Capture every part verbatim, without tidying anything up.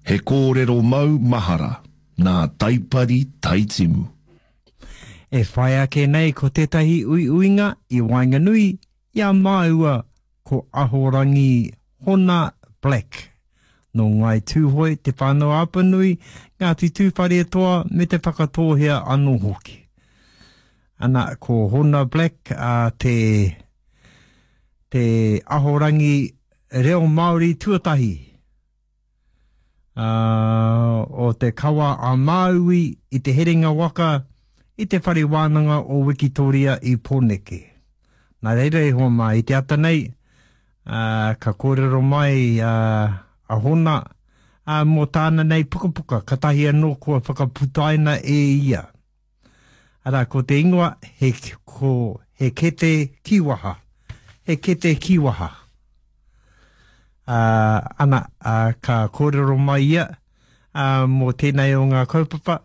He kōrero mau mahara nā Taipari Taitimu. E whai ake nei ko tētahi uiuinga i waenganui i a māua ko Ahorangi Hona Black. Nō Ngāi Tūhoe, Te Whānau-a-Apanui, Ngāti Tūwharetoa me Te Whakatōhea anō hoki. Ana, ko Hona Black a te, te ahorangi reo Māori tuatahi uh, o te kawa a Māui i te herenga waka i te whare wānanga o Wikitoria i Pōneke. Nā reira e hoa mā, i te ata nei, uh, ka kōrero mai uh, a Hona uh, mō tāna nei pukapuka, katahi anō kua whakaputaina e ia. Arā, ko te ingoa, he, ko, he kete kīwaha. He kete kīwaha. Uh, ana, uh, ka kōrero mai ia uh, mō tēnei o ngā kaupapa,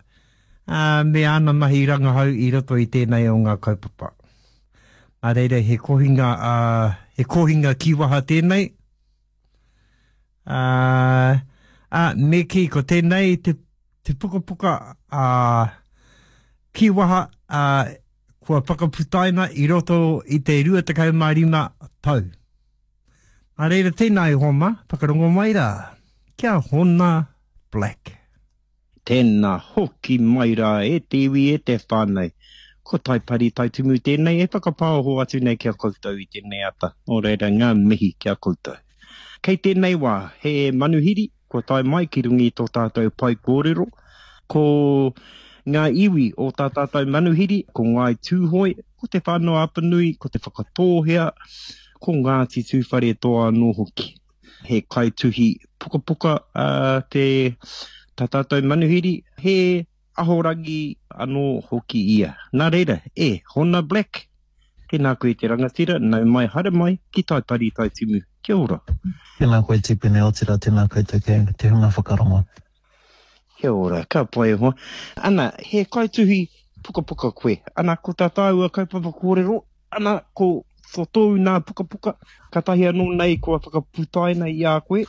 uh, me āna mahi rangahau i roto i tēnei o ngā kaupapa. Nā reira, he kohinga, uh, he kohinga kīwaha tēnei. Uh, uh, me kī, ko tēnei te, te pukapuka uh, kīwaha uh, kua whakaputaina i roto i te rua tekau mā rima tau. Nā reira tēnā e hoa mā, whakarongo mai rā, kia Hona Black. Tēnā hoki mai rā e te iwi e te whānau. Ko Taipari Taitumu tēnei e whakapāoho atu nei ki a koutou i tēnei ata. Nō reira ngā mihi ki a koutou. Kei tēnei wā, he manuhiri kua tae mai ki runga i tō tātou pae kōrero. Ko ngā iwi o tā tātou manuhiri, ko Ngāi Tūhoe, ko Te Whānau-a-Apanui, ko Te Whakatōhea, ko Ngāti Tūwharetoa anō hoki. He kaituhi pukapuka te tā tātou manuhiri, he ahorangi anō hoki ia. Nā reira, e Hona Black, tēnā koe te rangatira, nau mai haere mai ki Taipari Taitimu. Kia ora. Tēnā koe Tipene, otirā tēnā koutou kei te hunga whakarongo. Kia ora, ka pai e hoa. Ana, he kaituhi pukapuka koe. Ana, ko tā tāua kaupapa kōrero, ana, ko ko tōu nā pukapuka, katahi anō nei kua whakaputaina i a koe,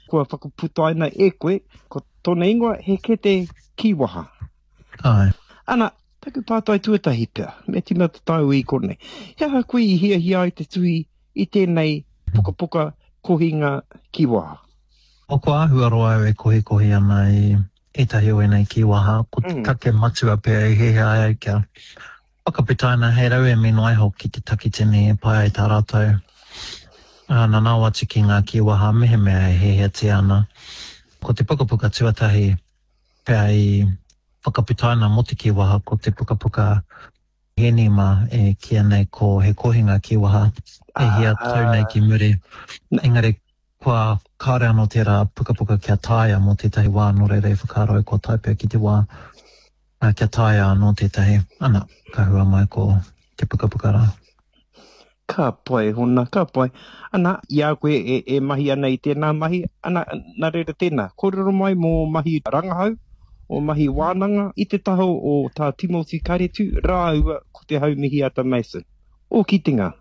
kua whakaputaina e koe, ko tōna ingoa he kete kīwaha. Āe. Ana, taku pātai tuatahi pea, me tīmata tāua i konei. He aha koe i hiahia ai te tuhi i tēnei pukapuka kohinga kīwaha? O, kua āhua roa au e kohikohi ana i ētahi o ēnei kīwaha, ko te take matua pea i hiahia ai au kia whakaputaina hei rauemi noa iho ki te takitini e pai ai tā rātou nanao atu ki ngā kīwaha mehemea e hiahiatia ana. Ko te pukapuka tuatahi pea i whakaputaina mō te kīwaha ko te pukapuka Hēni mā e kīia nei ko He Kohinga Kīwaha e hia tau nei ki muri. Engari kua kāore anō tērā pukapuka kia taea mō tētahi wā nō reira i whakaaro au kua tae pea ki te wā kia taea anō tētahi, ana, ka hua mai ko te pukapuka rā. Ka pai, Hona, ka pai. Ana, i a koe e, e mahi ana i tēnā mahi, ana, nā reira tēnā, kōrero mai mō mahi rangahau, ō mahi wānanga i te taha o Tā Timoti Karetu rāua ko Te Haumihiata Mason. Ō kitenga.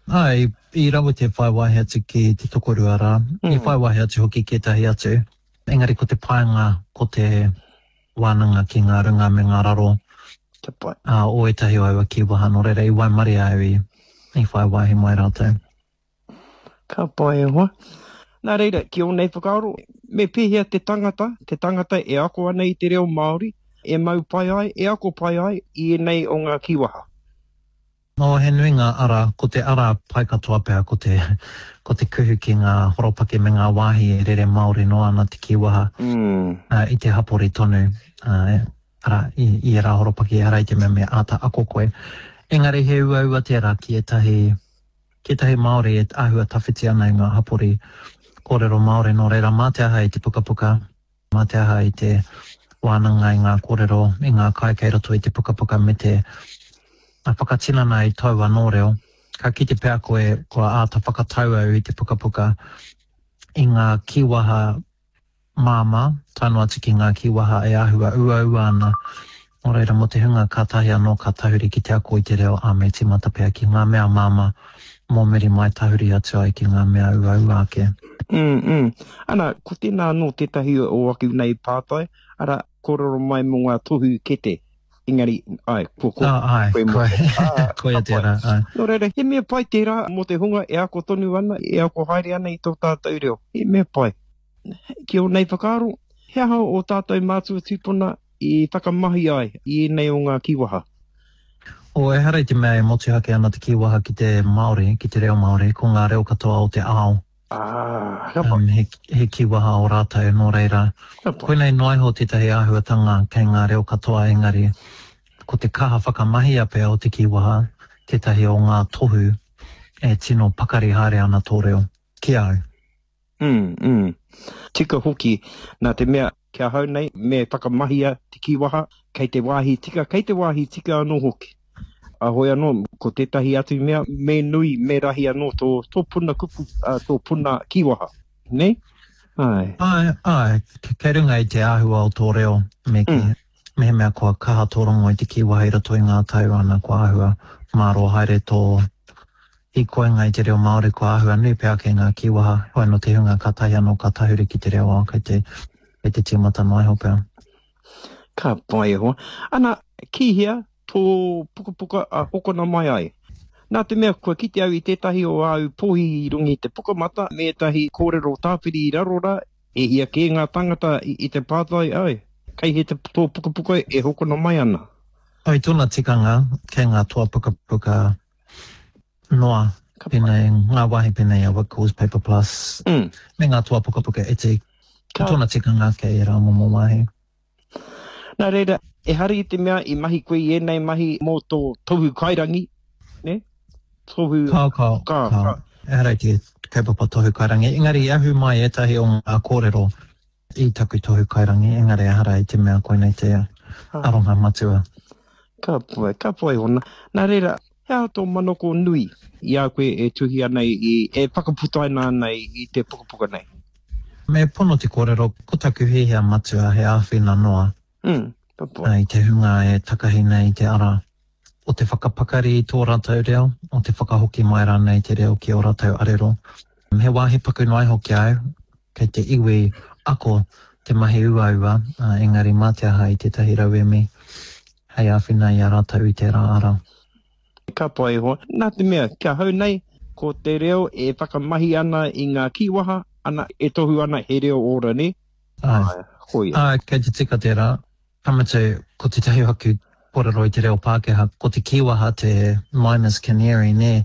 Āe, i rawe te whai wāhi atu ki te tokorua rā, i whai wāhi atu hoki ki ētahi atu, engari ko te painga ko te wānanga ki ngā runga me ngā raro o ētahi o aua kīwaha, nō reira i waimarie au i whai wāhi mai rātou. Ka pai e hoa. Nā reira, ki ō nei whakaaro, me pēhea te tangata, te tangata e ako ana i te reo Māori, e mau pai ai, e ako pai ai i ēnei o ngā kīwaha? Nō, he nui ngā ara, ko te ara pai katoa pea ko te, ko te kuhu ki ngā horopaki me ngā wāhi e rere māori noa ana te kīwaha i te hapori tonu, arā, i, i ērā horopaki ehara i te mea me āta ako koe. Engari he uaua tērā ki ētahi, ki ētahi Māori e āhua tawhiti ana i ngā hapori kōrero Māori, nō reira mā te aha i te pukapuka, Mā te aha i te wānanga i ngā kōrero, i ngā kai kei roto i te pukapuka me te whakatinana i tōu anō reo. Ka kite pea koe kua āta whakatau au i te pukapuka i ngā kīwaha māmā, tae noa atu ki ngā kīwaha e āhua uaua ana. Nō reira, mō te hunga kātahi anō ka tahuri ki te ako i te reo, ā, me tīmata pea ki ngā mea māmā, mō muri mai tahuri atu ai ki ngā mea uaua ake. Mm, mm. Ana, ko tēnā anō tētahi o aku nei pātai, ara, kōrero mai mō ngā tohu kete. Engari, ai, ko, ko, oh, ai, koe mō. Koe, Ah, koia ka pai. tērā, ai. Nō reira, he mea pai tērā mō te hunga e ako tonu ana, e ako haere ana i tō tātou reo. He mea pai. Ki ō nei whakaaro, he aha o tātou mātua tūpuna i whakamahi ai i ēnei o ngā kīwaha? O, ehara i te mea e motuhake ana te kīwaha ki te Māori, ki te reo Māori, ko ngā reo katoa o te ao. Ah, ka pai. Um, he, he kīwaha o rātou, nō reira. Ka pai. Koinei noa iho tētahi āhuatanga kei ngā reo katoa, engari ko te kaha whakamahia pea o te kīwaha, tētahi o ngā tohu e tino pakari haere ana tō reo. Ki au. Mm, mm. Tika hoki, nā te mea, ki ahau nei, me whakamahia te kīwaha, kei te wāhi tika, kei te wāhi tika anō hoki. A hoi anō, ko tētahi atu mea, me nui, me rahi anō tō, tō puna kupu, uh, tō puna kīwaha. Ne? Ai. Ai, ai, kei runga i te āhua o tō reo, me ki, Mm. mehemea kua kaha tō rongo i te kīwaha i roto i ngā tau ana, kua āhua mārō haere tō hīkoinga i te reo Māori, kua āhua nui pea ake ngā kīwaha, hoi anō te hunga ka tahi anō ka tahuri ki te reo ao, kei te, kei te tīmata noa iho pea. Ka pai e hoa. Ana, ki hea tō pukapuka a hokona mai ai? Nā te mea, kua kite au i tētahi o āu pōhi i runga i te pukamata, me ētahi kōrero tāpiri i raro rā, e hia kē ngā tāngata i, i te pātai ai, kei he te tō pukapuka e hokona mai ana? Oi, tōna tikanga, kei ngā toa pukapuka noa, Ka pai. pēnei, ngā wāhi pēnei a Whitcoulls, Paper Plus, Mm. me ngā toa pukapuka iti. Ka Tōna tikanga kei ērā momo wāhi. Nā reira, ehara i te mea i mahi koe i ēnei mahi mō tō tohu kairangi, ne? Tohu... Kao, kao, Ka, kao. ka. Ehara i te kaupapa tohu kairangi. Engari, i ahu mai ētahi o ngā kōrero i taku tohu kairangi, engari ehara i te mea koinei te aronga matua. Ka pai, ka pai hona. Nā reira, he aha tō manako nui i a koe e tuhi ana i, e whakaputaina ana i, i te pukapuka nei? Me pono te kōrero, ko taku hiahia matua he āwhina noa. Mm, ka pai. I te hunga e takahi nei te ara o te whakapakari i tō rātou reo, o te whakahoki mai rānei te reo ki o rātou arero. He wāhi paku noa iho ki au, kei te iwi ako te mahi uaua, uh, engari mā te aha i tētahi rauemi hei āwhina i a rātou i tērā ara. Ka pai hoa. Nā te mea, kia hau nei, ko te reo e whakamahi ana i ngā kīwaha, ana e tohu ana he reo ora, ne? Ai. Ai, koia. Ai, kei te tika tērā. Ka mutu, ko te tahi hoki kōrero i te reo Pākehā, ko te kīwaha te miner's canary, ne?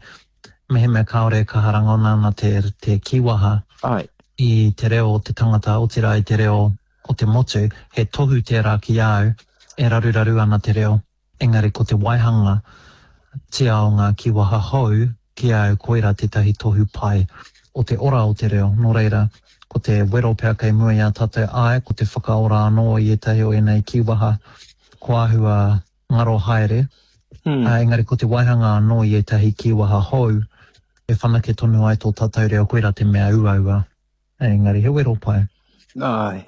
Mehemea kāore e kaha rangona ana te, te kīwaha Ai. i te reo o te tangata, otirā i te reo o te motu, he tohu tērā ki au e raruraru ana te reo. Engari ko te waihanga tia o ngā kīwaha hou ki au koira tētahi tohu pai o te ora o te reo. Nō reira, ko te wero pea kei mua i a tātou ai, ko te whakaora anō i ētahi o ēnei kīwaha ko āhua ngaro haere. Mm. Uh, engari ko te waihanga anō i ētahi kīwaha hou e whanake tonu ai tō tātou reo, koira te mea uaua. Engari he wero pai. Ai.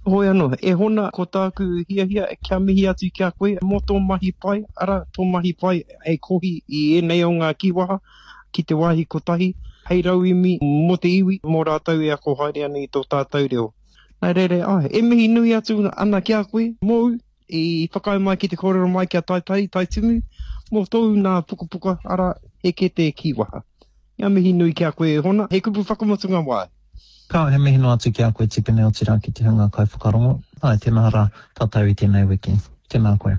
Hoi anō, e hona ko tāku hiahia kia mihi atu ki a koe mō tō mahi pai, ara tō mahi pai hei kohi i ēnei o ngā kīwaha ki te wāhi kotahi, hei rauemi mō te iwi, mō rātou e ako haere ana i tō tātou reo. Nā reira, ai, e mihi nui atu ana ki a koe, mōu, i whakaae mai ki te kōrero mai ki a Taipari, Taitimu, mō tōu nā pukapuka, ara, he kete kīwaha. Ngā mihi nui ki a koe e hona, he kupu whakamutunga wai. Ka he mihi noa atu ki a koe Tipene otirā ki te hunga kaiwhakarongo. Ai, tēnā rā, tātou i tēnei wiki. Tēnā koe.